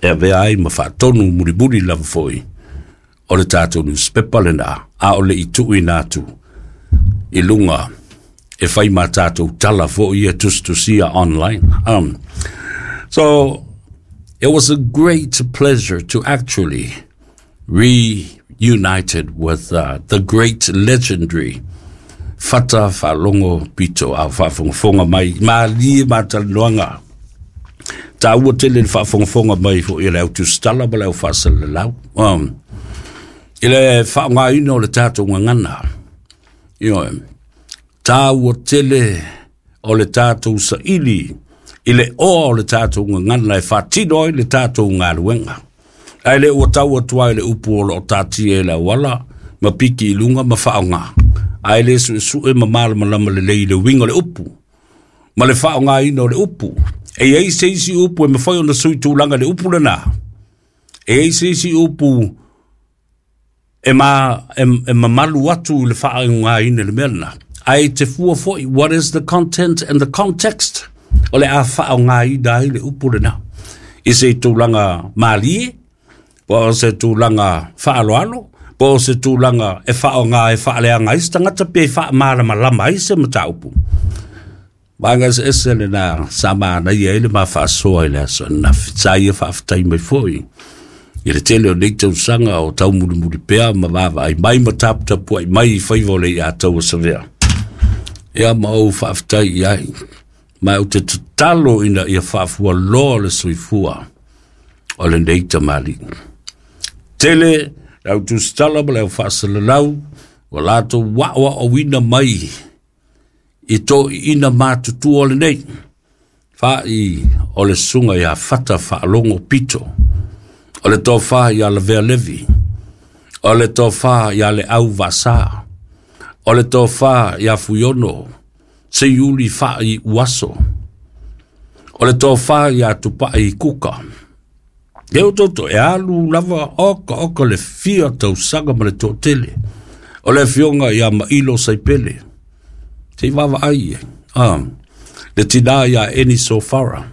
e avea ai ma faatonu mulimuli lava foi o le tatou newspaper lena, a o le i tuuina atu i luga e fai ma tatou tala foi e tusitusia online. So it was a great pleasure to actually reunited with the great legendary Fata Faalogo Pito a faafogafoga mai malie matalanoaga taua tele le faafogafoga mai foi e le au tusitala ma le au faasalalau i le faaaogaina o le tatou gagana. Ioe, taua tele o le tatou saili i le oa o le tatou gagana e faatino ai le tatou galuega. Ae le ua tau atu ai le upu o loo tatia i le auala ma piki i luga ma faaaoga, ae le suesue ma malamalama lelei i le uiga o le upu ma le faaaogaina o le upu. E i ai se isi upu e mafai ona sui tulaga i le upu lena. E i ai se isi upu e, ma, e, e mamalu atu i le faaaogaina i le mea lena. Ae te fua foi, what is the content and the context o le a faaaogaina ai le upu lena. I se tulaga malie, po o se tulaga faaaloalo, po o se tulaga e faaaoga e faaleaga ai se tagata pe faamalamalama ai se mataupu. Vaega eseese lena sa manaia ai le ma faasoa i le aso ananafi. Sa ia faafetai mai foi i le tele o nei tausaga o taumulimuli pea ma vaavaai mai ma taputapuai mai i faiva o le iatau o Savea. Ia ma ou faafetai i ai. Ma ou te tatalo ina ia faafualoa le soifua o lenei tamalii. Tele le au tusitala ma le au faasalalau ua latou aoaoina mai i toeaiina matutua lenei, fa'i o le susuga ia Fata Faalogo Pito, o le tofa ia Lavea Levi, o le tofa ia Leau Vaasa, o le tofa ia Fuiono Seiuli Fa'i Uaso, o le tofa ia Tupai Kuka. E o toto e alu lava oka oka le fia tausaga ma le toatele. O le afioga ia Mailo Saipele, se i vaavaai ai. Le tina ia Eni Sofara,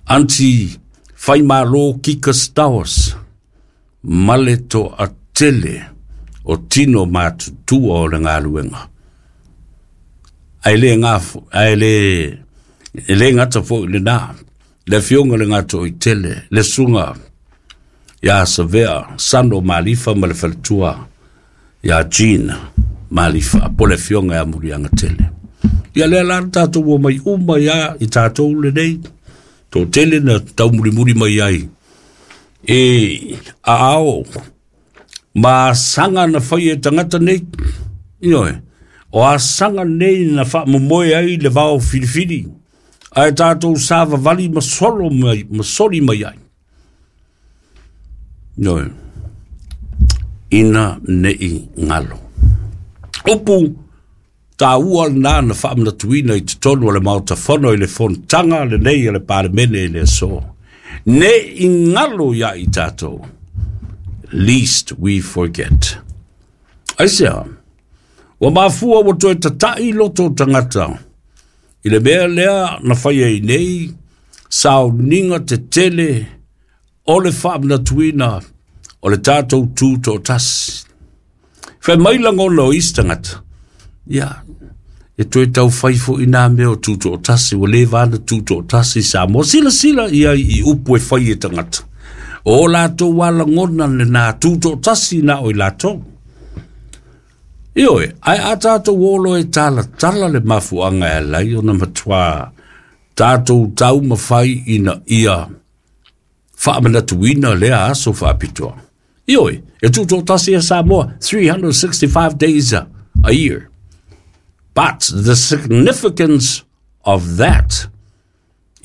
Aunty Faimalo Kika Stowers, ma le toatele o tino matutua o le galuega. Ae le gafo, ae le e le gata foi lena, le afioga le Gatoitele, le susuga ia Savea Sano Malifa ma le faletua ia Jean Malifa, po le afioga ia Muliagatele. Ia lea la tatou ua mai uma ia i tatou lenei, toatele na taumulimuli mai ai e aao ma asaga na fai e tagata nei. Ioe, o asaga nei na faamomoe ai le vao filifili, ae tatou savavali ma solo mai, ma soli mai ai. Ioe, ina nei galo. Upu taua lena na faamanatuina i totonu o le Maota Fono i le fonotaga lenei a le Palemene i le aso. Ne i galo ia i tatou. Least we forget. Aisea, ua mafua ua toe tata'i loto o tagata i le mea lea na fai ai nei sauniga tetele o le faamanatuina o le tatou tu toatasi. Fai mai lagona o isi tagata, ia, e toe tau fai foi nā mea o tu toatasi, ua leva na tu toatasi Samoa. Silasila i ai i upu e fai e tagata. O latou alagona lena tu toatasi na o i latou. Ioe, ae a tatou olo e talatala le mafuaaga e ala ai ona matua tatou taumafai ina ia faamanatuina lea aso faapitoa. Ioe, e tutoatasi e Samoa 365 days a year. But the significance of that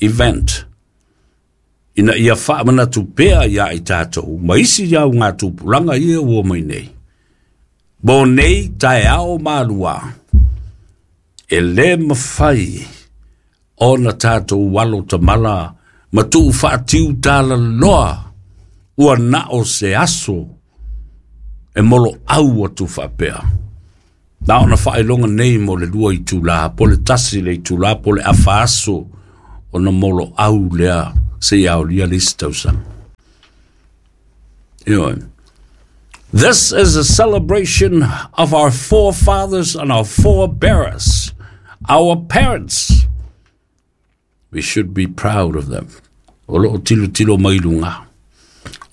event ina ia faamanatu pea ia i tatou ma isi au ngā tupulaga ia ua mai nei. Mo nei taeao malua, e le mafai ona tatou alo tamala ma tuu faatiu talaloa ua na o se aso e moloau atu faapea. Na ona faailoga nei mo le 2 itula, po le 1 le itula, po le afa aso ona moloau lea seia aolia le isi tausaga. Ioe. This is a celebration of our forefathers and our forebearers, our parents. We should be proud of them. O loo tilotilo mai luga.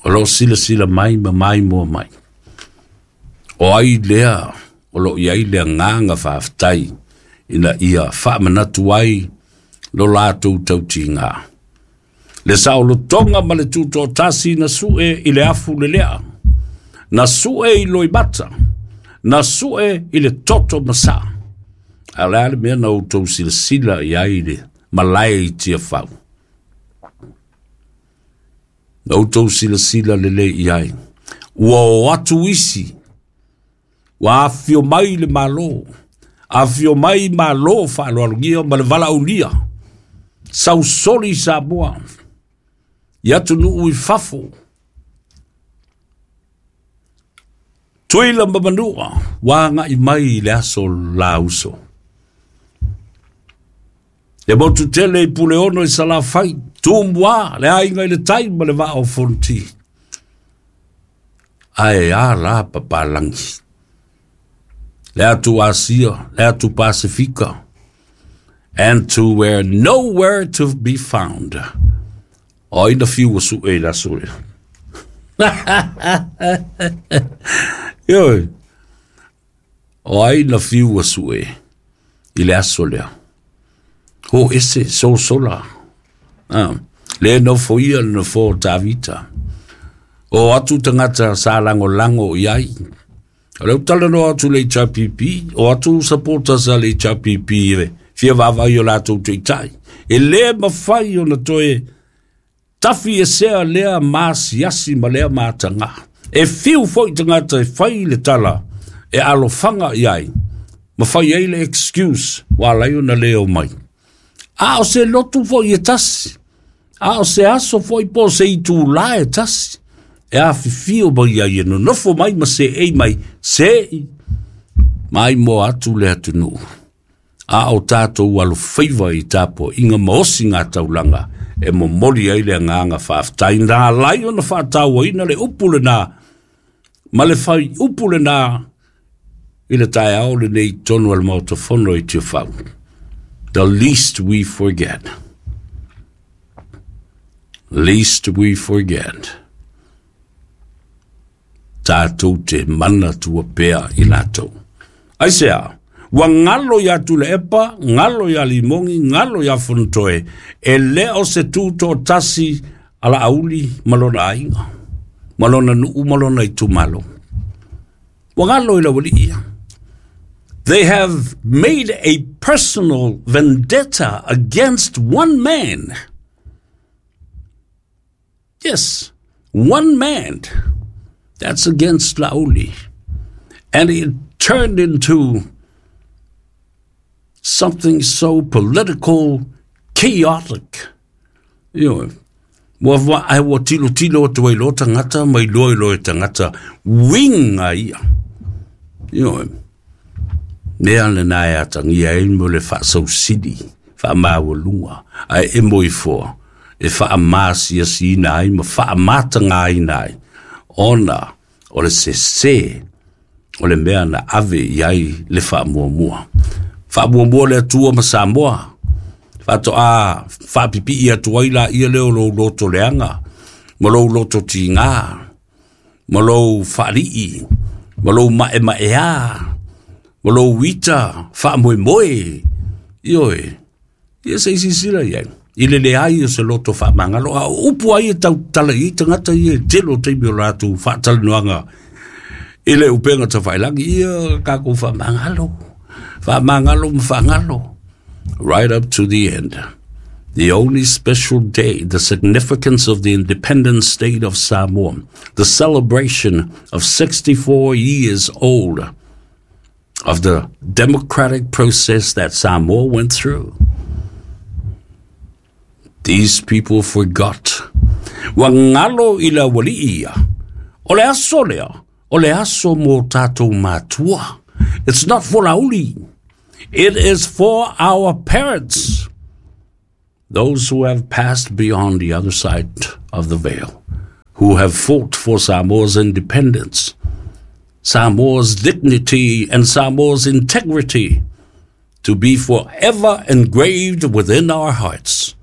O loo silasila mai ma maimoa mai. O ai lea o loo i ai le agaga faafetai ina ia faamanatu ai lo latou tautiga. Le saolotoga ma le tutoatasi na sue i le afu lelea, na sue i loimata, na sue i le toto masaa. A o le a le mea na outou silasila i ai i le malae i Tiafau? Na outou silasila lelei i ai. Ua o atu isi, ua afifio mai le Malo, afifio mai Malo faaaloalogia ma le valaaulia, sausoli i Samoa, i atunuu i fafo, Tuila ma Manua, ua agai mai i le aso lauso. Le motu tele i Puleono i Salafai, Tumua, le aiga i le tai ma le vaa o Fonoti. Ae a la papalangi. Le atu Asia, le atu Pasifika, and to where nowhere to be found. O ai na fiu ua sue i le aso lea? Ioe. O ai na fiu ua sue i le aso lea? Ho ese sosola. Ah, le nofo ia le nofo o Tavita. O atu tagata sa lagolago i ai. O lea ou talanoa atu i le HRPP, o atu supporters a le HRPP e fia vaavaai i o latou taitai. E le mafai ona toe tafi esea lea maasiasi ma lea mataga. E fiu foi tagata e fai le tala e alofaga i ai ma fai ai le excuse ua ala ai ona le omai. A o se lotu foi e tasi, a o se aso foi po o se itulā e tasi e afifio mai ai e nonofo mai ma seei mai, seei maimoa atu le atunuu. A o tatou alofaiva i tapuaiga ma osiga taulaga e momoli ai le agaga faafetai na ala ai ona faatauaina le upu lena ma le faiupu lena i le taeao lenei i totonu o le Maota Fono i Tiafau. The least we forget. Least we forget. Tatou te manatua pea i latou. Aisea? Ua galo iā Tuilaepa, galo iā Limogi, galo iā Fonotoe, e le o se tutoatasi a Laauli ma lona aiga, ma lona nuu ma lona itumalo. Ua galo i le aualii ia. They have made a personal vendetta against one man. Yes, one man. That's against Laauli. And it turned into something so political, chaotic. Ioe. Ua wa, ai ua tilotilo atu ai loa tagata ma iloa ai loa e tagata uiga ia. Ioe. Mea lena e atagia ai mo le faasausili, faamaualuga, ae emo ifoa e faamasiasiina ai ma faamatagaina ai ona o le sese o le mea na ave i ai le faamuamua. Faamuamua le Atua ma Samoa, faatoa faapipii atu ai laia lea o lou loto leaga, ma lou loto tiga, ma lou faalii, ma lou maemaea, ma lou ita faamoemoe. Ioe, ia se i silasila i ai, i le leai o se loto faamagalo, a o upu ai e tautala i ai tagata ia i le tele o taimi o latou faatalanoaga i le upega tafailagi, ia tatou faamagalo, faamagalo ma faagalo, right up to the end. The only special day, the significance of the independent state of Samoa, the celebration of 64 years old of the democratic process that Samoa went through. These people forgot. Ua galo i le aualii ia. O le aso lea, o le aso mo tatou matua. It's not for Laauli. It is for our parents. Those who have passed beyond the other side of the veil. who have fought for Samoa's independence, Samoa's dignity, and Samoa's integrity to be forever engraved within our hearts.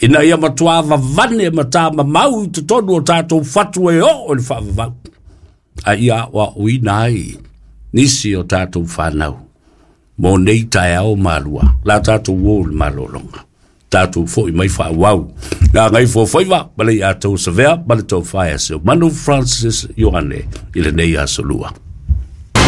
Ina ia matuā vavane ma tamamau i totonu o tatou fatu e oo i le faavavau, a ia aoaoina ai nisi o tatou fanau mo nei taeao malua la tatou uō i le malologa. Tatou foi mai faaauau. Gagaifomauga 4 ma le ia tou savea ma le tofa ia Seumanu Francis Ioane i lenei aso Lua.